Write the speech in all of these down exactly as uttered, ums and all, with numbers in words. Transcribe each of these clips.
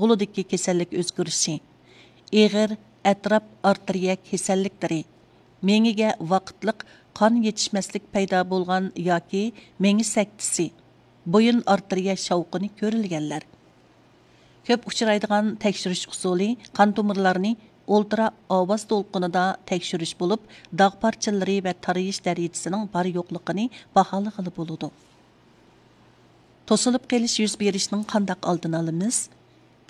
غولىدىكى كېسەللىك ئۆزگىرىشى، ئېغىر ئەتراپ ئارتېرىيە كېسەللىكلىرى، مېڭىگە ۋاقىتلىق قان يېتىشمەسلىك پەيدا بولغان ياكى مېڭە سەكتىسى، بويۇن ئارتېرىيە شاۋقۇنى كۆرۈلگەنلەر. كۆپ ئۇچرايدىغان تەكشۈرۈش ئۇسۇلى قان تومۇرلارنى ئولترا ئاۋاز دولقۇنىدا تەكشۈرۈش بولۇپ، داغ پارچىلىرى ۋە تارىيىش دەرىجىسىنىڭ بار يوقلۇقىنى باھالىغىلى بولىدۇ. توسۇلۇپ قېلىش يۈز بېرىشنىڭ قانداق ئالدىنى ئالىمىز؟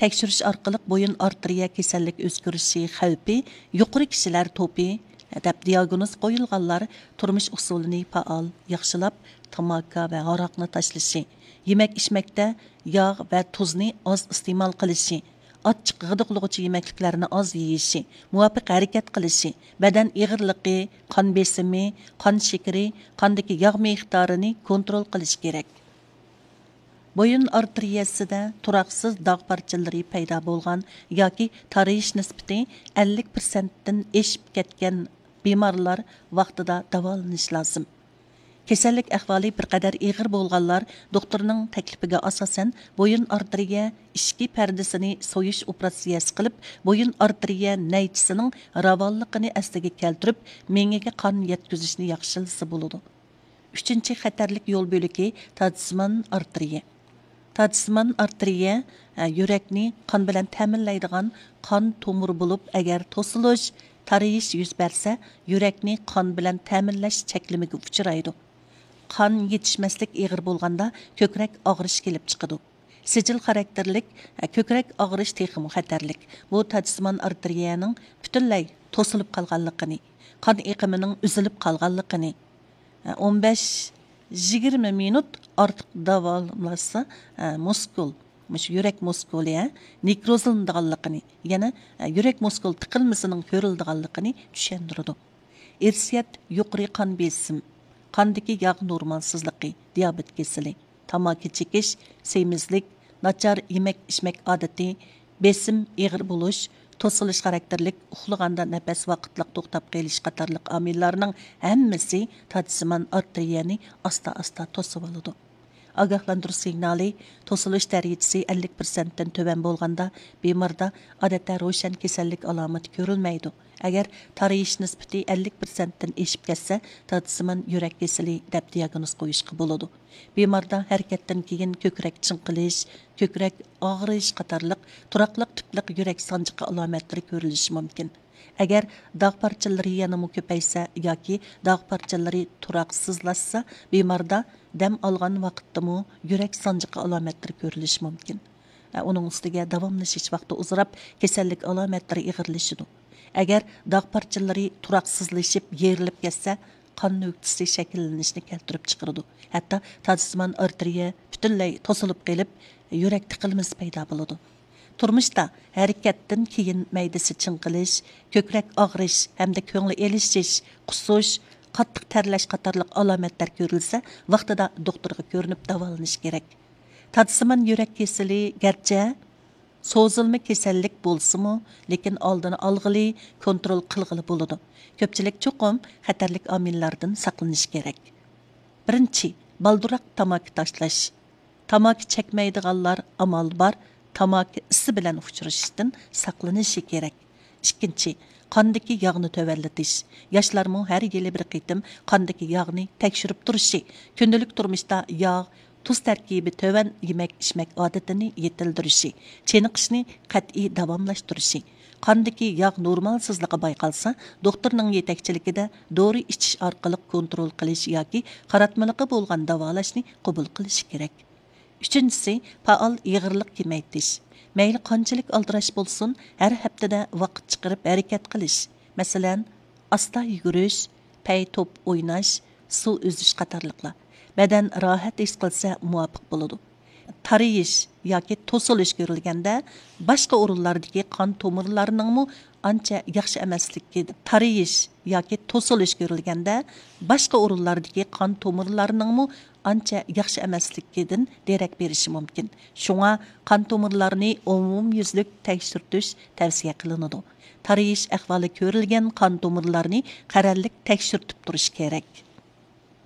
تەكشۈرۈش ئارقىلىق بويۇن ئارتېرىيە كېسەللىك ئۆزگىرىشى خەۋپى يۇقىرى كىشىلەر توپى دەپ دىياگنوز قويۇلغانلار تۇرمۇش ئۇسۇلىنى پائال ياخشىلاپ، تاماكا ۋە ھاراقنى تاشلىشى، يېمەك ئىچمەكتە ياغ ۋە تۇزنى ئاز ئىستېمال قىلىشى، ئاچچىق غىدىقلىغۇچى يېمەكلىكلەرنى ئاز يېيىشى، مۇۋاپىق ھەرىكەت قىلىشى، بەدەن ئېغىرلىقى، قان بېسىمى، قان شېكىرى، قاندىكى ياغ مىقدارىنى كونترول قىلىشى كېرەك. بويۇن ئارتېرىيەسىدە تۇراقسىز داغ پارچىلىرى پەيدا بولغان ياكى تارىيىش نىسبىتى ئەللىك پىرسەنتتىن ئېشىپ كەتكەن بىمارلار ۋاقتىدا داۋالىنىشى لازىم. كېسەللىك ئەھۋالى بىر قەدەر ئېغىر بولغانلار دوختۇرنىڭ تەكلىپىگە ئاساسەن بويۇن ئارتېرىيە ئىچكى پەردىسىنى سويۇش ئوپېراتسىيەسى قىلىپ، بويۇن ئارتېرىيە نەيچىسىنىڭ راۋانلىقىنى ئەسلىگە كەلتۈرۈپ، مېڭىگە قان يەتكۈزۈشنى ياخشىلىسا بولىدۇ. ئۈچىنچى خەتەرلىك يول بۆلىكى تادىسىمان ئارتېرىيە. تادىسىمان ئارتېرىيە، ئە، يۈرەكنى قان بىلەن تەمىنلەيدىغان قان تومۇرى بولۇپ، ئەگەر توسۇلۇش، تارىيىش يۈز بەرسە، يۈرەكنى قان بىلەن تەمىنلەش چەكلىمىگە ئۇچرايدۇ. قان يېتىشمەسلىك ئېغىر بولغاندا، كۆكرەك ئاغرىش كېلىپ چىقىدۇ. سىجىل خاراكتېرلىك، ئە، كۆكرەك ئاغرىش تېخىمۇ خەتەرلىك. بۇ تادىسىمان ئارتېرىيەنىڭ پۈتۈنلەي توسۇلۇپ قالغانلىقىنى، قان ئېقىمىنىڭ ئۈزۈلۈپ قالغانلىقىنى، ئون بەش يىگىرمە مىنۇت ئارتۇق داۋالاشسا، مۇسكۇل، مۇشۇ يۈرەك مۇسكۇلى، نېكروزلىنىدىغانلىقىنى، يەنە يۈرەك مۇسكۇل تىقىلمىسىنىڭ كۆرۈلىدىغانلىقىنى چۈشەندۈرىدۇ. ئىرسىيەت، يۇقىرى قان بېسىم، قاندىكى ياغ نورمالسىزلىقى، دىيابېت كېسىلى، تاماكا چېكىش، سېمىزلىك، ناچار يېمەك ئىچمەك ئادىتى، بېسىم ئېغىر بولۇش، توسۇلۇش خاراكتېرلىك، ئۇخلىغاندا نەپەس ۋاقىتلىق توختاپ قېلىش قاتارلىق ئامىللارنىڭ ھەممىسى تادىسىمان ئارتېرىيەنى ئاستا ئاستا توسۇۋالىدۇ. ئاگاھلاندۇرۇش سىگنالى، توسۇلۇش دەرىجىسى ئەللىك پىرسەنتتىن تۆۋەن بولغاندا، بىماردا ئادەتتە روشەن كېسەللىك ئالامىتى كۆرۈلمەيدۇ. ئەگەر تارىيىش نىسبىتى ئەللىك پىرسەنتتىن ئېشىپ كەتسە، تادىسىمان يۈرەك كېسىلى دەپ دىياگنوز قويۇشقا بولىدۇ. بىماردا ھەرىكەتتىن كېيىن كۆكرەك چىڭقىلىش، كۆكرەك ئاغرىش قاتارلىق تۇراقلىق تىپلىق يۈرەك سانجىقى ئالامەتلىرى كۆرۈلۈشى مۇمكىن. ئەگەر داغ پارچىلىرى يەنىمۇ كۆپەيسە ياكى داغ پارچىلىرى تۇراقسىزلاشسا، بىماردا دەم ئالغان ۋاقىتتىمۇ يۈرەك سانجىقى ئالامەتلىرى كۆرۈلۈشى مۇمكىن. ئۇنىڭ ئۈستىگە داۋاملىشىش ۋاقتى ئۇزىراپ، كېسەللىك ئالامەتلىرى ئېغىرلىشىدۇ. ئەگەر داغ پارچىلىرى تۇراقسىزلىشىپ، يېرىلىپ كەتسە، قان نۆكتىسى شەكىللىنىشنى كەلتۈرۈپ چىقىرىدۇ. ھەتتا تادىسىمان ئارتېرىيە پۈتۈنلەي توسۇلۇپ قېلىپ، يۈرەك تىقىلمىسى پەيدا بولىدۇ. تۇرمۇشتا ھەرىكەتتىن كېيىن مەيدىسى چىڭقىلىش، كۆكرەك ئاغرىش ھەمدە كۆڭلى ئېلىشىش، قۇسۇش، قاتتىق تەرلەش قاتارلىق ئالامەتلەر كۆرۈلسە، ۋاقتىدا دوختۇرغا كۆرۈنۈپ داۋالىنىش كېرەك. تادىسىمان يۈرەك كېسىلى گەرچە سوزۇلما كېسەللىك بولسىمۇ، لېكىن ئالدىنى ئالغىلى، كونترول قىلغىلى بولىدۇ. كۆپچىلىك چوقۇم خەتەرلىك ئامىللاردىن ساقلىنىشى كېرەك. بىرىنچى، بالدۇرراق تاماكا تاشلاش. تاماكا چەكمەيدىغانلار ئامال بار تاماكا ئىسى بىلەن ئۇچرىشىشتىن ساقلىنىشى كېرەك. ئىككىنچى، قاندىكى ياغنى تۆۋەنلىتىش. ياشلارمۇ ھەر يىلى بىر قېتىم قاندىكى ياغنى تەكشۈرۈپ تۇرۇشى، كۈندىلىك تۇرمۇشتا ياغ، تۇز تەركىبى تۆۋەن يېمەك-ئىچمەك ئادىتىنى يېتىلدۈرۈشى، چېنىقىشنى قەتئىي داۋاملاشتۇرۇشى، قاندىكى ياغ نورمالسىزلىقى بايقالسا، دوختۇرنىڭ يېتەكچىلىكىدە دورا ئىچىش ئارقىلىق كونترول قىلىش ياكى قاراتمىلىقى بولغان داۋالاشنى قوبۇل قىلىشى كېرەك. ئۈچىنچىسى، پائال ئېغىرلىق كېمەيتىش. مەيلى قانچىلىك ئالدىراش بولسۇن، ھەر ھەپتىدە ۋاقىت چىقىرىپ ھەرىكەت قىلىش. مەسىلەن، ئاستا يۈگۈرۈش، پەي توپ ئويناش، سۇ ئۈزۈش قاتارلىقلار. بەدەن راھەت ھېس قىلسا مۇۋاپىق بولىدۇ. تارىيىش ياكى توسۇلۇش كۆرۈلگەندە، باشقا ئورۇنلاردىكى قان تومۇرلارنىڭمۇ ئانچە ياخشى ئەمەسلىكى، تارىيىش ياكى توسۇلۇش كۆرۈلگەندە، باشقا ئورۇنلاردىكى قان تومۇرلارنىڭمۇ ئانچە ياخشى ئەمەسلىكىدىن دېرەك بېرىشى مۇمكىن. شۇڭا قان تومۇرلارنى ئومۇميۈزلۈك تەكشۈرتۈش تەۋسىيە قىلىنىدۇ. تارىيىش ئەھۋالى كۆرۈلگەن قان تومۇرلارنى قەرەللىك تەكشۈرتۈپ تۇرۇش كېرەك.